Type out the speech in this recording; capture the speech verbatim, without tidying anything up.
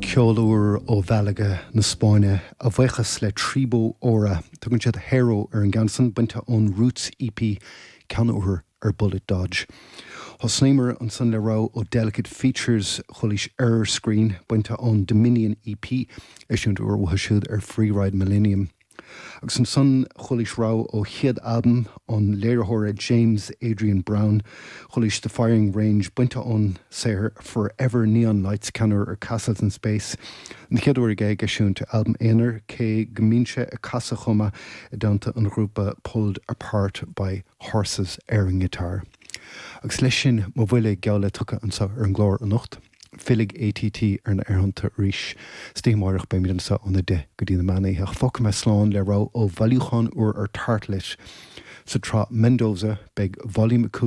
Ceol úr ó Mhálaga na Spáinne a bhuíochas le Tribo Ora tugann siad Hero ar an gceann san bainte ón Roots EP ceann úr ar Bullet Dodge. Thosnaíomar ansan le rogha ó Delicate Features chualaís Error Screen bainte ón Dominion EP eisiúint úr uathu siúd ar Freeride Millennium. Agus ansan chualaís rogha ó chéad albam an léiritheora James Adrian Brown, chualaís The Firing Range bainte ón saothar Forever Neon Lights ceann úr ar Castles in Space. An chéad uair aige ag eisiúint albam aonair cé go mbíonn sé ag casadh chomh maith i dteannta an ghrúpa Pulled Apart by Horses ar an ngiotár. Agus leis sin mo bhuille geall le tugtha anseo ar an gclár anocht. Fillfidh ATT ar na haerthonnta arís istoíche amárach beimid anseo óna deich go dtí na meán oíche fágfaidh mé slán le rogha ó bhailiúchán úr ar Tartelet sa tsraith Mendoza beidh Volume a cúig